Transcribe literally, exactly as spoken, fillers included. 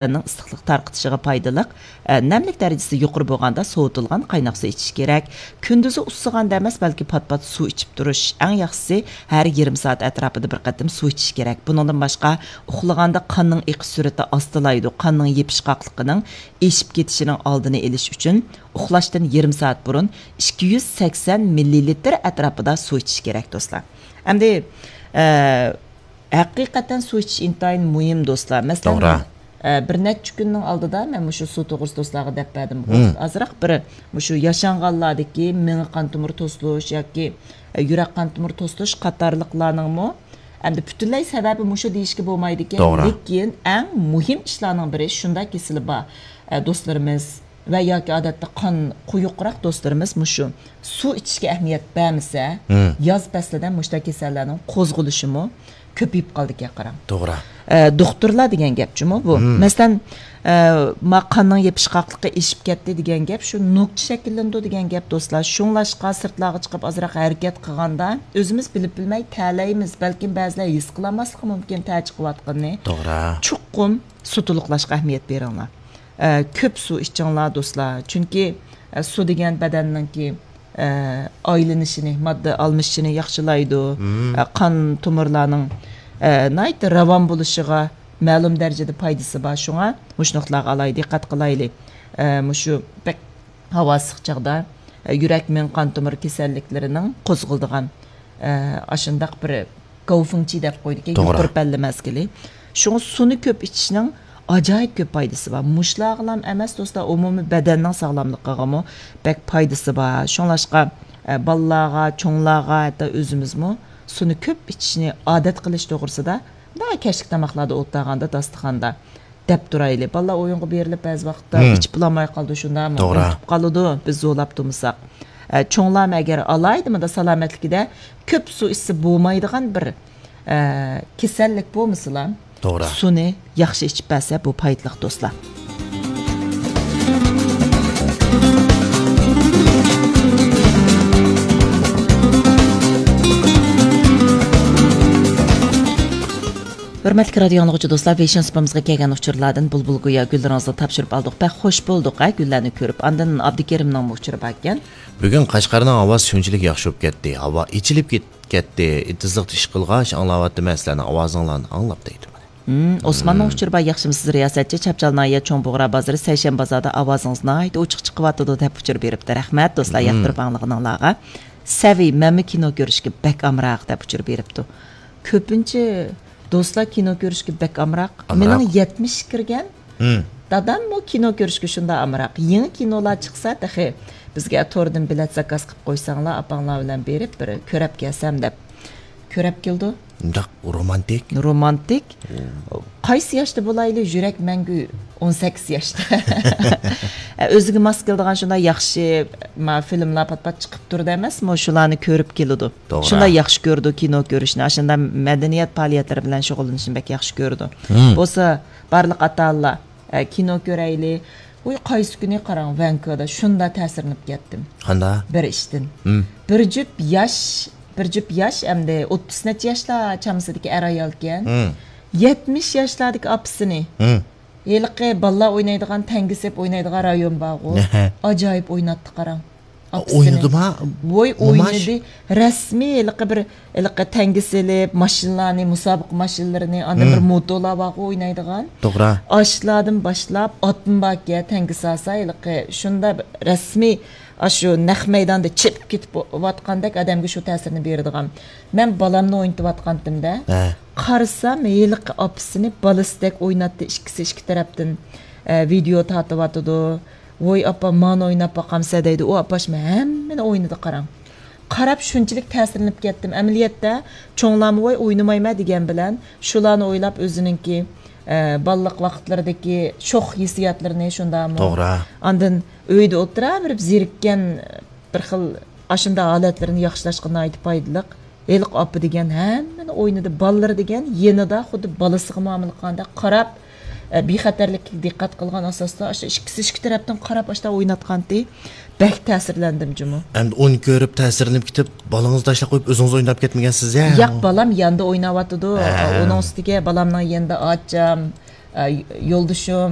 بەدەننىڭ ئىسسىقلىق تارقىتىشىغا پايدىلىق. ئە، نەملىك دەرىجىسى يۇقىرى بولغاندا سوۋۇتۇلغان قايناق سۇ ئىچىش كېرەك. كۈندۈزى ئۇسسىغاندا ئەمەس، بەلكى پات-پات سۇ ئىچىپ تۇرۇش. ئەڭ ياخشىسى ھەر يېرىم سائەت ئەتراپىدا بىر قېتىم سۇ ئىچىش كېرەك. بۇنىڭدىن باشقا، ئۇخلىغاندا قاننىڭ ئېقىش سۈرئىتى ئاستىلايدۇ. قاننىڭ يېپىشقاقلىقىنىڭ ئېشىپ كېتىشىنىڭ ئالدىنى ئېلىش ئۈچۈن ئۇخلاشتىن يېرىم سائەت بۇرۇن ئىككى يۈز سەكسەن مىللىلىتىر ئەتراپىدا سۇ ئىچىش كېرەك، دوستلار. ئەمدى، ئە، ھەقىقەتەن سۇ ئىچىش ئىنتايىن مۇھىم، دوستلار. مەسىلەن، توغرا. ئە، بىر نەچچە كۈننىڭ ئالدىدا مەن مۇشۇ سۇ توغرىسىدا دوستلارغا دەپ بەردىم. مم. ئازراق بىر مۇشۇ ياشانغانلاردىكى مېڭە قان تومۇر توسۇلۇش ياكى، ئە، يۈرەك قان تومۇر توسۇلۇش قاتارلىقلارنىڭمۇ ئەمدى پۈتۈنلەي سەۋەبى مۇشۇ دېيىشكە بولمايدىكەن. توغرا. لېكىن ئەڭ مۇھىم ئىشلارنىڭ بىرى، شۇنداق كېسىلى بار، ئە، دوستلىرىمىز ۋە ياكى ئادەتتە قان قويۇقراق دوستلىرىمىز مۇشۇ سۇ ئىچىشكە ئەھمىيەت بەرمىسە، مم. ياز پەسلىدە مۇشۇنداق كېسەللەرنىڭ قوزغىلىشىمۇ كۆپىيىپ قالىدىكەن، قاراڭ. توغرا. ئە، دوختۇرلار دېگەن گەپ جۇمۇ بۇ. مم. مەسىلەن، ئە، ما قاننىڭ يېپىشقاقلىقى ئېشىپ كەتتى دېگەن گەپ، شۇ نۆكچە شەكىللىنىدۇ دېگەن گەپ، دوستلار. شۇڭلاشقا سىرتلارغا چىقىپ ئازراق ھەرىكەت قىلغاندا، ئۆزىمىز بىلىپ بىلمەي تەلەيمىز، بەلكىم بەزىلەر ھېس قىلالماسلىقى مۇمكىن تەچىقىۋاتقىنىنى. توغرا. چوقۇم سۇ تولۇقلاشقا ئەھمىيەت بېرىڭلار. ئە، كۆپ سۇ ئىچىڭلار، دوستلار. چۈنكى، ئە، سۇ دېگەن بەدەننىڭكى، ئە، ئايلىنىشىنى، ماددا ئالمىشىشىنى ياخشىلايدۇ. مم. ئە، قان تومۇرلارنىڭ، ئە، ناھايىتى راۋان بولۇشىغا مەلۇم دەرىجىدە پايدىسى بار. شۇڭا مۇشۇ نۇقتىلارغا ئالاھىدە دىققەت قىلايلى. ئە، مۇشۇ بەك ھاۋا ئىسسىق چاغدا، ئە، يۈرەك، مېڭە قان تومۇر كېسەللىكلىرىنىڭ قوزغىلىدىغان، ئە، ئاشۇنداق بىر گاۋفېڭچى دەپ قويدىكەن، توغرا. يۇقىرى پەللە مەزگىلى. شۇڭا سۇنى كۆپ ئىچىشنىڭ ئاجايىپ كۆپ پايدىسى بار. مۇشۇلارغىلام ئەمەس، دوستلار، ئومۇمىي بەدەننىڭ ساغلاملىقىغىمۇ بەك پايدىسى بار. شۇڭلاشقا، ئە، بالىلارغا، چوڭلارغا، ھەتتا ئۆزىمىزمۇ سۇنى كۆپ ئىچىشنى ئادەت قىلىش توغرىسىدا، مۇنداق كەچلىك تاماقلاردا ئولتۇرغاندا، داستىخاندا دەپ تۇرايلى. بالىلار ئويۇنغا بېرىلىپ، بەزى ۋاقىتتا مم. ئىچىپ بولالماي قالىدۇ، شۇنداقمۇ؟ توغرا. ئۇنتۇپ قالىدۇ، بىز زورلاپ تۇرمىساق. ئە، چوڭلارمۇ ئەگەر ئالاھىدە مۇنداق سالامەتلىكىدە كۆپ سۇ ئىچسە بولمايدىغان بىر، ئە، كېسەللىك بولمىسىلا، توغرا. سۇنى ياخشى ئىچىپ بەرسە، بۇ پايدىلىق، دوستلار. ھۆرمەتلىك رادىيو ئاڭلىغۇچى دوستلار، ۋېيشىن سۇپىمىزغا كەلگەن ئۇچۇرلاردىن بۇلبۇل گويا گۈللىرىڭىزنى تاپشۇرۇپ ئالدۇق. بەك خوش بولدۇق، ھە، گۈللەرنى كۆرۈپ. ئاندىن ئابدۇكېرىمنىڭمۇ ئۇچۇرى باركەن. بۈگۈن قەشقەرنىڭ ھاۋاسى شۇنچىلىك ياخشى بولۇپ كەتتى. ھاۋا ئېچىلىپ كېت-، كەتتى. ئېتىزلىقتا ئىش قىلغاچ ئاڭلاۋاتىمەن، سىلەرنىڭ ئاۋازىڭلارنى ئاڭلاپ دەيدۇ مانا. ھىم، ئوسماننىڭ مم. ئۇچۇرى بار، ياخشىمۇسىز رىياسەتچى؟ چاپچال ناھىيە چوڭ بۇغرا بازىرى سەيشەنبە بازاردا ئاۋازىڭىز ناھايىتى ئوچۇق چىقىۋاتىدۇ، دەپ ئۇچۇر بېرىپتۇ. رەھمەت، دوستلار، مم. ياقتۇرۇپ ئاڭلىغىنىڭلارغا. سەۋى، مەنمۇ كىنو كۆرۈشكە بەك ئامراق، دەپ ئۇچۇر بېرىپتۇ. كۆپىنچە دوستلار كىنو كۆرۈشكە بەك ئامراق. ئامراق. مېنىڭ يەتمىشكە كىرگەن مم. داداممۇ كىنو كۆرۈشكە شۇنداق ئامراق. يېڭى كىنولار چىقسا تېخى بىزگە توردىن بېلەت زاكاز قىلىپ قويساڭلار، ئاپاڭلار بىلەن بېرىپ بىر كۆرەپ كەلسەم دەپ. كۆرەپ كېلىدۇ. شۇنداق رومانتىك. رومانتىك. مم. قايسى ياشتا بولايلى، يۈرەك مەڭگۈ ئون سەككىز ياشتا. ئۆزىگە ماس كېلىدىغان شۇنداق ياخشى، ما، فىلىملار پات-پات چىقىپ تۇرىدۇ ئەمەسمۇ، شۇلارنى كۆرۈپ كېلىدۇ. توغرا. شۇنداق ياخشى كۆرىدۇ كىنو كۆرۈشنى، ئاشۇنداق مەدەنىيەت پائالىيەتلىرى بىلەن شۇغۇللىنىشنى بەك ياخشى كۆرىدۇ. مم. بولسا بارلىق ئاتا-ئانىلار، ئە، كىنو كۆرەيلى. ۋوي، قايسى كۈنى قاراڭ، ۋەنكۇدا شۇنداق تەسىرلىنىپ كەتتىم. قانداق؟ بىر ئىشتىن. مم. بىر جۈپ ياش، بىر جۈپ ياش، ئەمدى ئوتتۇز نەچچە ياشلار چامىسىدىكى ئەر-ئايالكەن. مم. يەتمىش ياشلاردىكى ئاپىسىنى. مم. ھېلىقى بالىلار ئوينايدىغان، تەڭگە سېلىپ ئوينايدىغان رايون بارغۇ. نەھە. ئاجايىپ ئويناتتى، قاراڭ. ئاپىسىنى. ئوينىدىما؟ ۋوي، موماش؟ ئوينىدى. رەسمىي ھېلىقى بىر، ھېلىقى تەڭگە سېلىپ، ماشىنىلارنى، مۇسابىقە ماشىنىلىرىنى، ئاندىن بىر مم. موتولار بارغۇ ئوينايدىغان. توغرا. ئاشۇلاردىن باشلاپ، ئاتمۇ باركەن، تەڭگە سالسا ھېلىقى شۇنداق رەسمىي، ئاشۇ نەق مەيداندا چېپىپ كېتىپ ۋاتقاندەك ئادەمگە شۇ تەسىرنى بېرىدىغان. مەن بالامنى ئوينىتىۋاتقانتىم-دە. ھە. قارىسام، ھېلىقى ئاپىسىنى بالىسىدەك ئويناتتى، ئىككىسى ئىككى تەرەپتىن، ئە، ۋىدېئو تارتىۋاتىدۇ. ۋوي ئاپا، مانا ئويناپ باقامسە دەيدۇ. ئۇ ئاپاش ھەممىنى ئوينىدى، قاراڭ. قاراپ شۇنچىلىك تەسىرلىنىپ كەتتىم. ئەمەلىيەتتە چوڭلارمۇ ۋوي ئوينىمايمەن دېگەن بىلەن شۇلارنى ئويلاپ ئۆزىنىڭكى، ئە، بالىلىق ۋاقىتلىرىدىكى شوخ ھېسسىياتلىرىنى شۇنداقمۇ. توغرا. ئاندىن ئۆيدە ئولتۇرۇۋېرىپ زېرىككەن بىر خىل ئاشۇنداق ھالەتلىرىنى ياخشىلاشقا ناھايىتى پايدىلىق. ھېلىقى ئاپا دېگەن ھەممىنى ئوينىدى. بالىلىرى دېگەن يېنىدا خۇددى بالىسىغا مۇئامىلە قىلغاندەك قاراپ، ئە، بىخەتەرلىككە دىققەت قىلغان ئاساستا ئاشۇ ئىككىسى ئىككى تەرەپتىن قاراپ ئاشۇنداق ئويناتقانتى. بەك تەسىرلەندىم جۇمۇ. ئەمدى ئۇنى كۆرۈپ تەسىرلىنىپ كېتىپ، بالىڭىزنى تاشلاپ قويۇپ ئۆزىڭىز ئويناپ كەتمىگەنسىز يا؟ ياق، بالام يېنىدا ئويناۋاتىدۇ. ھە. ئۇنىڭ ئۈستىگە بالامنىڭ يېنىدا ئاچام، ئە، يولدىشىم،